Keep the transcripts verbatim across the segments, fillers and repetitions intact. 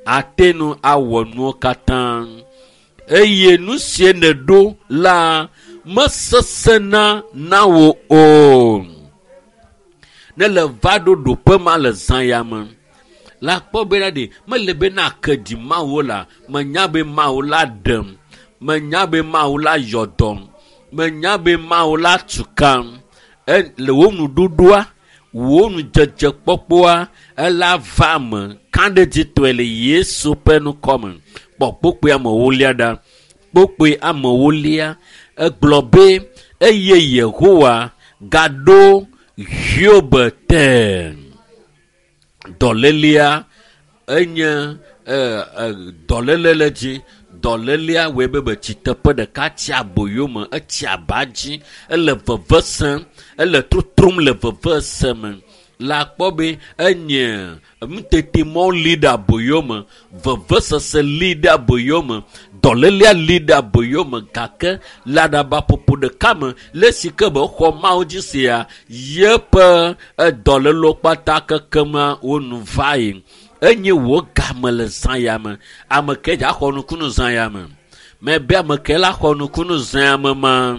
Ate nu awɔ nuwo katã. Eye nu sie nèɖo la mesesẽna na wò o. Ne le va ɖo ɖoƒe ma le zã ya me la kpɔ bena ɖe mele be na ke ɖi Mawu la, menya be Mawu la ɖem, menya be Mawu la yɔ dɔm, menya be Mawu la tu kam. E, le wò nuɖuɖua, wò nudzedzekpɔkpɔa, ela va me kaɖedzitɔe le Yesu ƒe ŋkɔme. Kpɔ kpokpoe amewolia ɖa. Kpokpoe amewolia egblɔ be eye Yehowa gaɖo Hiob te. Dɔlélia enye e, e, dɔléle le dzi. Dɔlélia wɔe be betsi teƒe ɖeka tsi aboyo me, etsi aba dzi, ele veve sem, ele trotrom le veve se me. La kpɔ be enye nutetemɔ li ɖe aboyo me, vevesese li ɖe aboyo me, dɔlélia li ɖe aboyo me gake le aɖabaƒoƒo ɖeka me le esi ke be xɔ Mawu dzi sia yeƒe dɔlélewo kpata kekema wo nu va yi. Enye wò game le zã ya me. Ame ke dza xɔ nukunu zã ya me. Mebe ame ke la xɔ nukunu zã ya me ma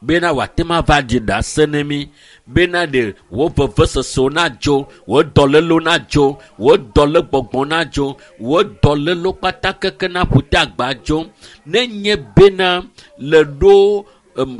bena wòate ŋu ava ɖi ɖase ne mí bena ɖe wò vevesesewo nadzo, wò dɔlélewo nadzo, wò dɔlégbɔgbɔ nadzo, wò dɔlélewo kpata keke naƒu te agba dzo. Nenye bena le ɖo um,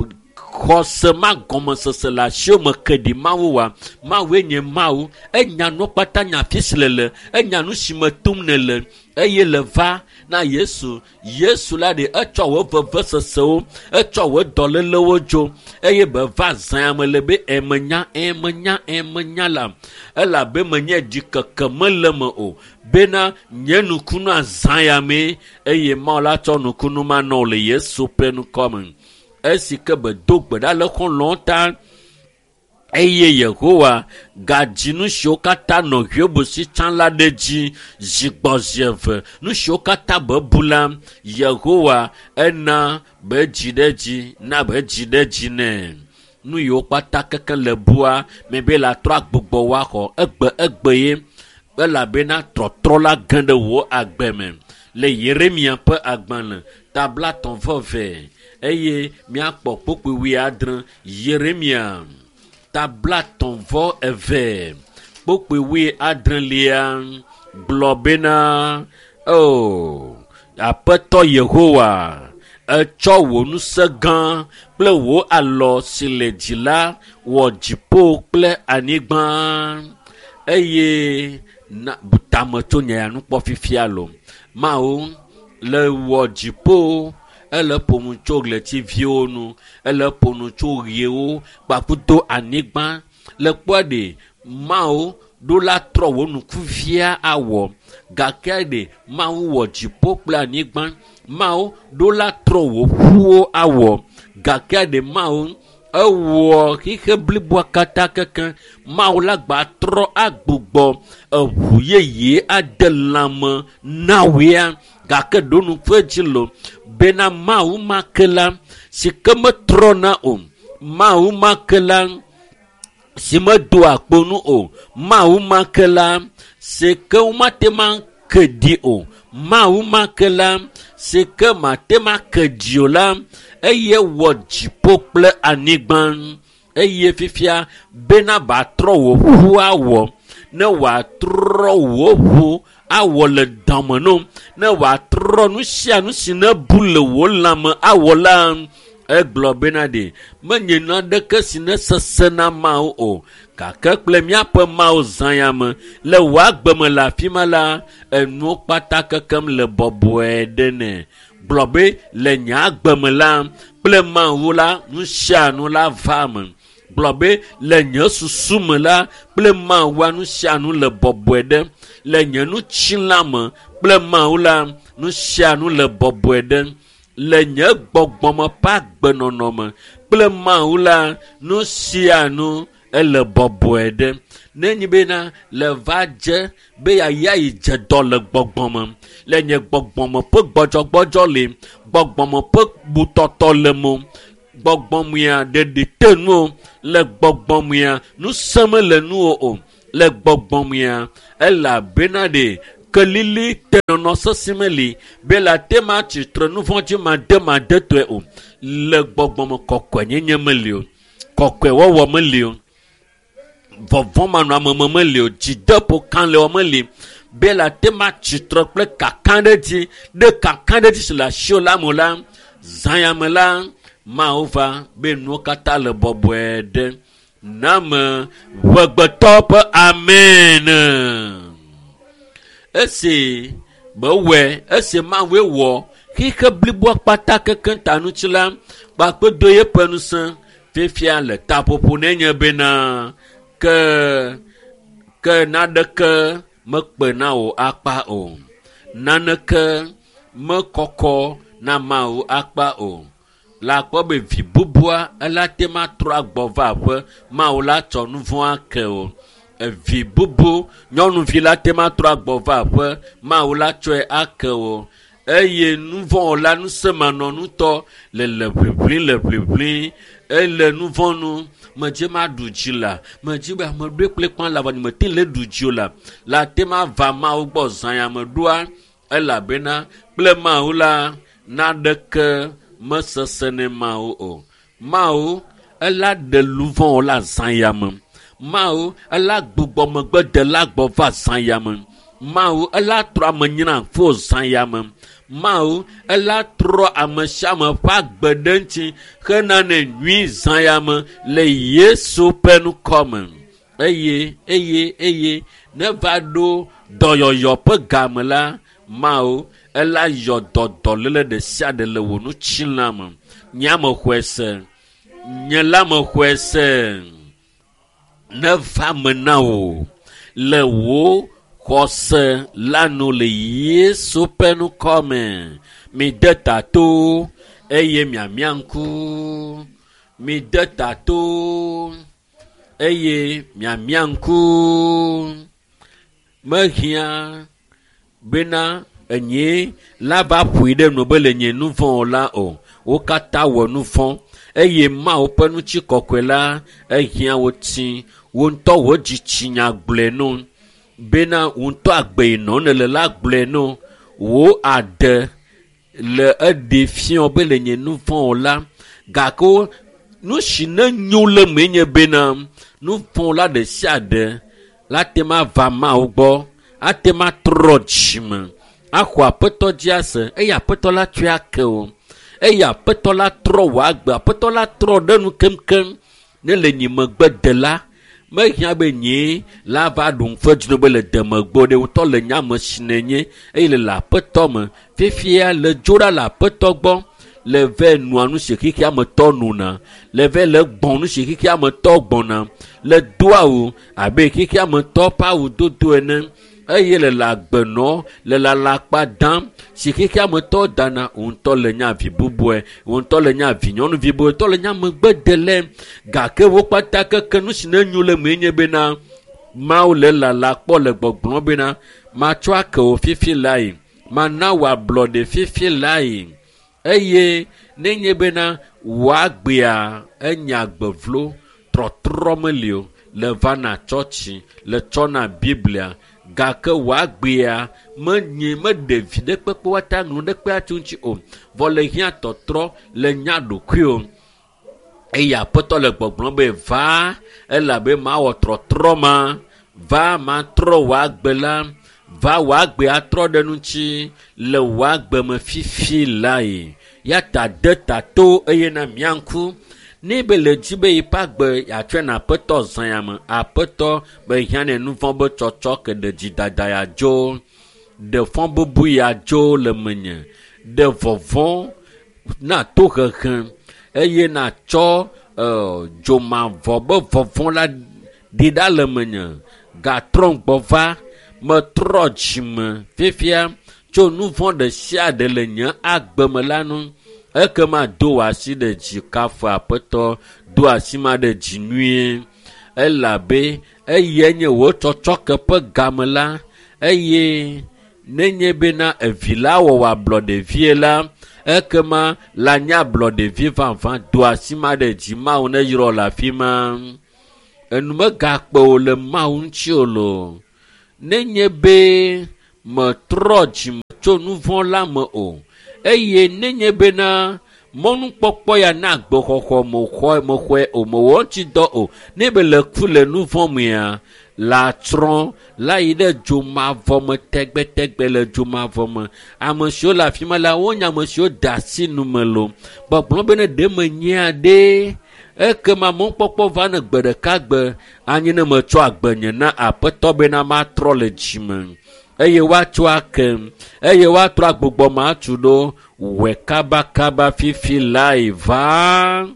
xɔse ma gɔmesese le asiwò me ke ɖi Mawu wa, Mawue nye Mawu. Enya nuwo kpata nya afi si le le, enya nu si me tom nèle eye le va na Yesu. Yesu la ɖe etsɔ wò vevesesewo, etsɔ wò dɔlélewo dzo eye be va zã me le be emenya, emenya, emenya la elabe menye ɖikeke mele me o bena nye nukunu azã ya mee eye Mawu la tsɔ nukunu ma na wò le Yesu ƒe ŋkɔ me. Esi ke be do gbe ɖa le xɔlɔ̃wo ta eye Yehowa gadzi nu siwo katã nɔ Hiob si tsã la ɖe dzi zi gbɔ zi eve. Nu siwo katã be bu la, Yehowa ena be dzi ɖe dzi, na be dzi ɖe dzi nɛ. Nu yiwo kpata keke le bua mebe la trɔ agbugbɔ woaxɔ egbe egbe ye elabena trɔtrɔ la ge ɖe wò agbe me. Le Yeremia ƒe agbalẽ tablatɔ̃ vɔ eve eye míakpɔ kpokpoe wuiadre. Yeremia tablatɔ̃ vɔ eve kpokpoe wuiadrelia gblɔ bena o Aƒetɔ Yehowa etsɔ wò ŋusẽ gã kple wò alɔ si le dzi la wɔ dziƒo kple anyigba eye na bu tame tso nye ya nukpɔ fifia lo. Mawu le wɔ dziƒo, ele ƒo nu tso ɣletiviwo nu, ele ƒo nu tso ɣewo kpakudo anyigba. Le kpɔa ɖe Mawu ɖo la trɔ wò nukuvia awɔ gake ɖe Mawu wɔ dziƒo kple anyigba. Mawu ɖo la trɔ wò ƒuwo awɔ gake ɖe Mawu ewɔ xixe bliboa katã keke. Mawu la gba trɔ agbugbɔ eʋu yeye ade lãme na wòea gake ɖo nuku edzi lo bena Mawu ma ke la si ke metrɔna o, Mawu ma ke la si medoa kpo nu o, Mawu ma ke la si ke womate ŋu ake ɖi o, Mawu ma ke la si ke mate ŋu ake ɖi o la eye wɔ dziƒo kple anyigba eye fifia bena batrɔ wò ʋu awɔ ne wòatrɔ wò ʋu awɔ le dɔme no ne wòatrɔ nu sia nu si ne bu le wò lãme awɔ la egblɔ bena ɖe menye naneke si ne sesẽ na Mawu o gake kple míaƒe Mawu zã ya me le wò agbe me le afi ma la enuwo kpata kekem le bɔbɔe ɖe nɛ. Gblɔ be le nye agbe me la kple Mawu la nu sia nu la va me. Gblɔ be le nye susu me la kple Mawua nu sia nu le bɔbɔe ɖe. Le nye nutsila me kple Mawu la nu sia nu le bɔbɔe ɖe. Le nye gbɔgbɔme ƒe agbenɔnɔ me kple Mawu la nu sia nu ele bɔbɔe ɖe. Nenye bena le va dze be yeaya yi dze dɔ le gbɔgbɔme le nye gbɔgbɔme ƒe gbɔdzɔgbɔdzɔ le gbɔgbɔme ƒe butɔtɔ le mo gbɔgbɔmea ɖeɖi te nu le gbɔgbɔmea ŋusẽ mele nuwò o le gbɔgbɔmea elabena ɖe Kelili tenɔnɔ sesẽ meli be le ate ma tsitre nu vɔ̃ dzi mademadetɔe o. Le gbɔgbɔme kɔkɔenyenye meli o. Kɔkɔewɔwɔ meli o. Vɔvɔ̃ manɔameme meli o. Dzideƒo kalẽwɔ meli be le ate ma tsitre kple kakaɖedzi ɖe kakaɖedzi si le asiwò la me o la, zã ya me la, Mawu va be nuwo katã le bɔbɔe ɖe. Name ʋegbetɔ ƒe amen. Esi mewɔe, esi Mawue wɔ xixe bliboa kpata kekeŋ ta ŋuti la, kpakpedo yeƒe ŋusẽ fifia le taƒoƒo ne nye bena ke ke naneke mekpe na wò akpa o. Naneke mekɔkɔ na Mawu akpa o. Le akpɔ be vi bubua ela te ma trɔ agbɔ va aƒe Mawu la tsɔ nu vɔ̃ ake o. Evi bubu nyɔnuvi la te ma trɔ agbɔ va aƒe Mawu la tsɔe ake o. Eye nu vɔ̃ la ŋusẽmanɔŋutɔ le le ʋiʋli le ʋiʋli ele nu vɔ̃ nu medze ma ɖu dzi la medze be ame ɖoe kple kpã la vɔ mete le ɖu dzi o la la te ma va Mawu gbɔ zã ya me ɖoa elabena kple Mawu la naneke mesesẽ ne Mawu o. Mawu ela ɖe luvɔ̃ la zã ya me. Mawu ela gbugbɔ megbe de la gbɔ va zã ya me. Mawu ela trɔ ame nyina fo zã ya me. Mawu ela trɔ ame sia ame ƒe agbe ɖe ŋuti hena ne nyui zã ya me le Yesu ƒe ŋkɔ me. Eye eye eye ne va ɖo dɔyɔyɔ ƒe game la, Mawu ela yɔ dɔ dɔléle ɖe sia ɖe le wò ŋutilã me. Nye ame xɔe se. Nye la me xɔe se. Ne va me na wò le wò xɔse la nu le Yesu ƒe ŋkɔ me. Mide ta to eye miamia ŋku. Mide ta to eye miamia ŋku. Mehiã bena enye la va ƒoe ɖe nu be le nye nu vɔ̃ la o. Wo katã wɔ nu vɔ̃ eye Mawu ƒe ŋutikɔkɔe la ehiã wo tsi. Wo ŋutɔ wo dzitsinya gblɔe no bena wo ŋutɔ agbe yi nɔ nele la gblɔe no. Wo ade le eɖe fiɔ be le nye nu vɔ̃ la gake nu si ne nyo le me nye bena nu vɔ̃ la ɖe sia ɖe la te ma va Mawu gbɔ ate ma trɔ dzime axɔ aƒetɔ dzi ase eye aƒetɔ la tsɔe ake o. Eye aƒetɔ la trɔ wò agbe, aƒetɔ la trɔ ɖe nu keŋkeŋ ne le nye megbe de la mehiã be nye la va ɖu ŋufe dzro be le demegbo ɖe ŋutɔ le nye ame si nenye eye le le aƒetɔ me fifia le dzo ɖa le aƒetɔ gbɔ le vɛ nua nu si xexea me tɔ nona le vɛ le gbɔn nu si xexea me tɔ gbɔna le do awu abe xexea me tɔ ƒe awu dodo ene eye le le agbenɔ le le alakpa dam si xexea me tɔ dana ŋutɔ le nye avi bubue ŋutɔ le nye avi nyɔnuvi bubue ŋutɔ le nye amegbedele gake wo kpata keke nu si ne nyo le mee nye bena Mawu le lala kpɔ le gbɔgblɔ bena matsɔ ake wò fifi lae mana wò ablɔɖe fifi lae eye nenye bena wò agbea enye agbe vlo trɔtrɔ meli o le vana tsɔtsi le tsɔna Biblia gake wò agbea menye meɖe vi ɖe kpekpe woate ŋu ɖe kpe atso ŋuti o vɔ le hiã tɔtrɔ le nya ɖokui o eye aƒetɔ le gbɔgblɔm be va elabe mawɔ trɔtrɔ ma va matrɔ wò agbe la va wò agbe atrɔ ɖe ŋuti le wò agbe me fifi lae ya ta de ta to eye na mia ŋku ne be le dzi be yiƒe agbe yeatsɔe na aƒetɔ zã ya me aƒetɔ be hiã ne nu vɔ̃ be tsɔtsɔ ke ɖe dzidada ya dzo ɖe fɔ bubu ya dzo le menye ɖe vɔvɔ̃ na tohehe eye natsɔ ɛ dzomavɔ be vɔvɔ̃ la ɖi ɖa le menye gatrɔ gbɔ va metrɔ dzime fifia tso nu vɔ̃ ɖe sia ɖe le nye agbe me la nu ekema do wò asi ɖe dzi kafu aƒetɔ do asi ma ɖe dzi nyuie elabe eye nye wò tsɔtsɔke ƒe game la eye nenye bena evi la wɔ wò ablɔɖevie la ekema la nye ablɔɖevi vavã do asi ma ɖe dzi Mawu ne yrɔ le afi ma enu megakpe wò le Mawu ŋuti o loo nenye be Metrɔ dzime tso nu vɔ̃ la me o. Eye nenye bena mɔnukpɔkpɔ ya na agbexɔxɔ mexɔe mexɔe o, mewɔ eŋuti dɔ o. Ne be le ku le nu vɔ̃ mea, la tsrɔ̃ la yi ɖe dzomavɔ me tegbetegbe le dzomavɔ me. Ame siwo le afi ma la, wonye ame siwo de asi nu me loo. Gbɔgblɔ be ne ɖe menyia ɖe, ekema mɔkpɔkpɔ va ne gbe ɖeka gbe anyi ne metsɔ agbenye na Aƒetɔ bena matrɔ le dzime. Eye woatsɔ ake, eye woatrɔ agbugbɔ matu ɖo wɔ kabakaba fifi lae va.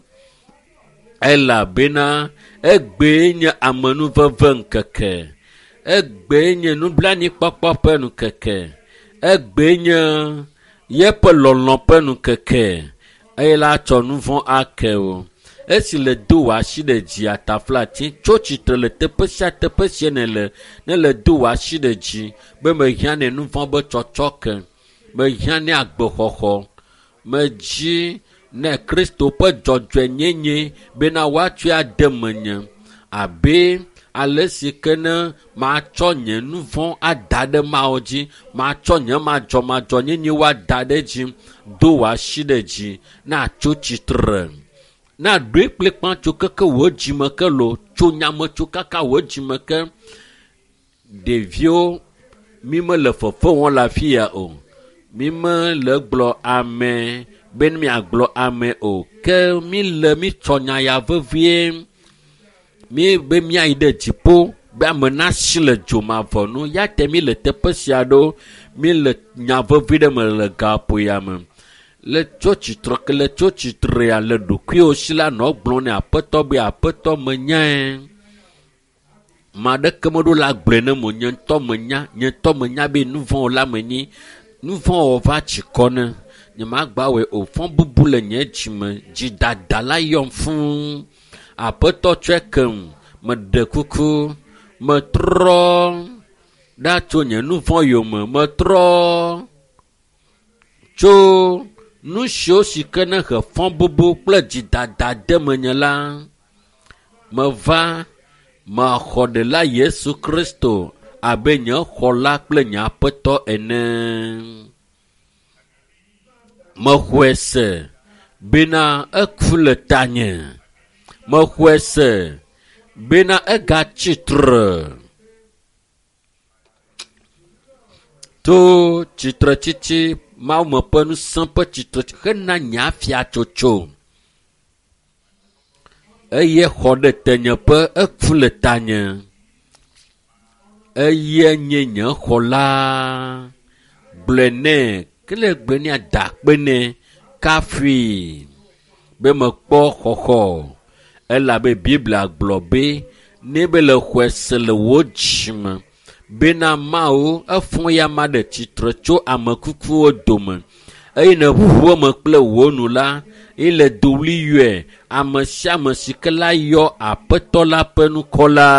Elabena egbee nye amenuveve ŋkeke. Egbee nye nublanuikpɔkpɔ ƒe ŋkeke. Egbee nye yeƒe lɔlɔ̃ ƒe ŋkeke. Eye la tsɔ nu vɔ̃ ake o. Esi le do wò asi ɖe dzi ataflatsi tso tsitre le teƒe sia teƒe si nèle, ne le do wò asi ɖe dzi be mehiã ne nu vɔ̃ be tsɔtsɔ ke, mehiã ne agbexɔxɔ, medzi ne Kristo ƒe dzɔdzɔenyenye bena woatsɔe ade menye abe ale si ke ne matsɔ nye nu vɔ̃ ada ɖe Mawu dzi, matsɔ nye madzɔmadzɔnyenye woada ɖe dzi, do wò asi ɖe dzi na tso tsitre. Na ɖoe kplikpã tso keke wò dzime ke lo, tso nyame tso kaka wò dzime ke. Ɖeviwo, mi mele fefe wɔm le afi ya o. Mi mele gblɔ ame be miagblɔ ame o. Ke mi le mi tsɔ nya ya vevie. Mi be miayi ɖe dziƒo be ame nasi le dzomavɔ nu. Ya te mi le teƒe sia ɖo. Mi le nya vevi ɖe me le gaƒo ya me. Le tso tsitre ke le tso tsitrea le ɖokuiwò si la nɔ gblɔm ne Aƒetɔ be Aƒetɔ menyae. Ma ɖeke meɖo la gblɔe ne mo nye ŋutɔ menya, nye ŋutɔ menya be nu vɔ̃ la menyi. Nu vɔ̃ wɔ va tsi kɔ ne. Nye magba wɔe o. Fɔ bubu le nye dzime. Dzidada la yɔm fũu. Aƒetɔ tsɔe kem. Meɖe kuku. Metrɔ ɖa tso nye nu vɔ̃ yome. Metrɔ tso nu siwo si ke ne he fɔ bubu kple dzidada de menye la. Meva mexɔ ɖela Yesu Kristo abe nye xɔla kple nye Aƒetɔ ene. Mexɔe se bena eku le tanye. Mexɔe se bena egatsi tre. To tsitretsitsi Mawu me ƒe ŋusẽ ƒe tsitre hena nye afiatsotso. Eye xɔ ɖe tenyeƒe eku le tanye. Eye nye nye xɔla. Gblɔe nɛ, ke le gblɔe nɛ da akpe nɛ kafui be mekpɔ xɔxɔ. Elabe Biblia gblɔ be ne be le xɔe se le wò dzime bena Mawu efɔ ya ma ɖe tsitre tso ame kukuwo dome eye ne ʋuʋu eme kple wò nu la, ye le dowli yɔe ame sia ame si ke la yɔ Aƒetɔ la ƒe ŋkɔ la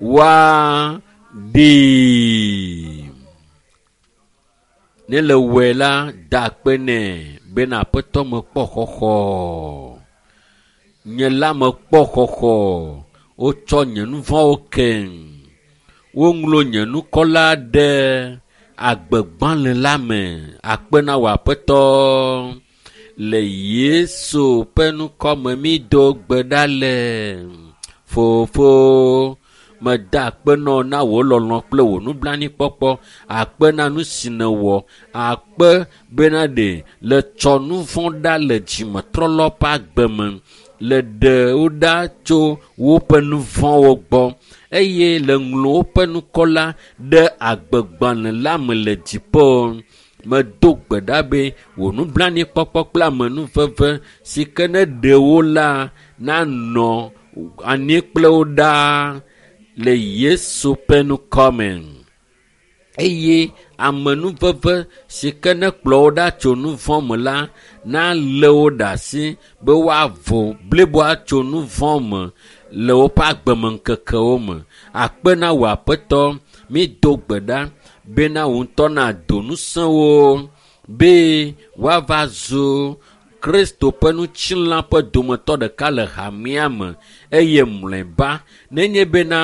woaɖee. Ne le wɔe la, da akpe nɛ bena Aƒetɔ mekpɔ xɔxɔ. Nye la mekpɔ xɔxɔ. Wotsɔ nye nu vɔ̃wo keŋ. Woŋlɔ nye ŋkɔ la ɖe agbegbalẽ la me. Akpe na wò Aƒetɔ. Le Yesu ƒe ŋkɔ me mi do gbe ɖa le. Fofo, meda akpe nɔ na wò lɔlɔ̃ kple wò nublanuikpɔkpɔ. Akpe na nu si nèwɔ. Akpe bena ɖe le tsɔ nu vɔ̃ ɖa le dzimetrɔlɔ ƒe agbe me. Le ɖe wo ɖa tso woƒe nu vɔ̃wo gbɔ. Eye le ŋlɔ woƒe ŋkɔ la ɖe agbegbalẽ la me le dziƒo. Medo gbe ɖa be wò nublanuikpɔkpɔ kple amenuveve si ke ne ɖe wo la nanɔ anyi kple wo ɖaa le Yesu ƒe ŋkɔ me. Eye amenuveve si ke ne kplɔ wo ɖa tso nu vɔ̃ me la nalé wo ɖe asi be woavo bliboa tso nu vɔ̃ me le woƒe agbemeŋkekewo me. Akpe na wò Aƒetɔ, mi do gbe ɖa bena wò ŋutɔ nado ŋusẽ wo be woava zu Kristo ƒe ŋutilã ƒe dometɔ ɖeka le hamea me eye mlɔeba nenye bena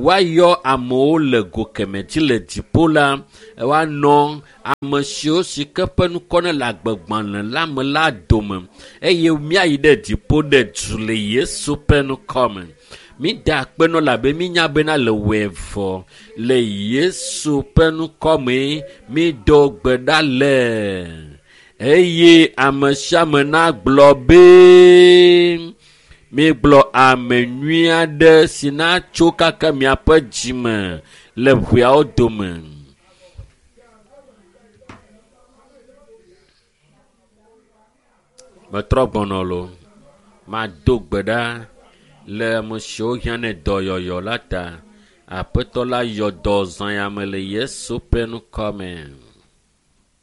woayɔ amewo le go kemɛ dzi le dziƒo la, woanɔ ame siwo si ke ƒe ŋkɔ ne le agbegbalẽ la me la dome eye míayi ɖe dziƒo ɖe du le Yesu ƒe ŋkɔ me. Mida akpe nɔ labe mínya bena le wɔe vɔ le Yesu ƒe ŋkɔ me mído gbe ɖa le eye ame sia ame nagblɔ be mígblɔ ame nyui aɖe si natso kaka miaƒe dzime le ʋeawo dome. Metrɔ gbɔnɔ lo, mado gbe ɖa le ame siwo hiã ne dɔyɔyɔ la ta. Aƒetɔ la yɔ dɔ zã ya me le Yesu ƒe ŋkɔ me.